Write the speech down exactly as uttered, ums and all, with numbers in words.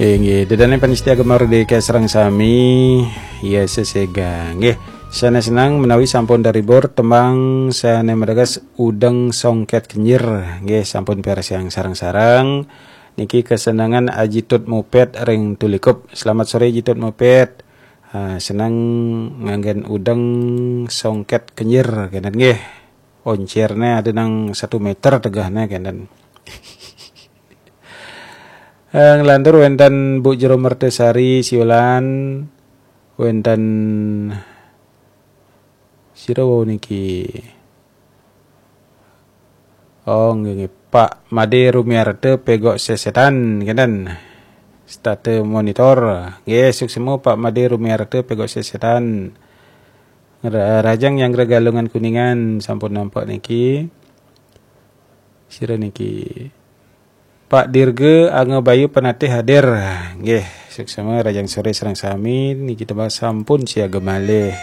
Inggih, ida dané pamiarsa Gema Merdeka sareng sami, ya sesega. Nggih, sané seneng menawi sampun daribur tembang sané mateges Udeng Songket Kenyir. Nggih, sampun piarsayang sareng-sareng. Niki kesenengan Aji Tut Mupet ring Tulikup. Selamat sore Aji Tut Mupet. Ah, seneng nganggén Udeng Songket Kenyir kénten nggih. Oncérné ada nang satu meter tegahné kénten. Eh, nglantur wénten Bu Jero Mertesari Siulan, wénten sira wau niki. Oh, nggih, nggih. Pak Made Rumiarta Pegok Sesetan kénten. Stata monitor. Nggih, suksma Pak Made Rumiarta Pegok Sesetan. Ra-, Rajang Nyanggra Galungan Kuningan sampun nampak niki. Sira niki. Pak Dirga Anga Bayu Penatih hadir. Nggih, suksma Rajang sore sareng sami niki tembang sampun siaga malih.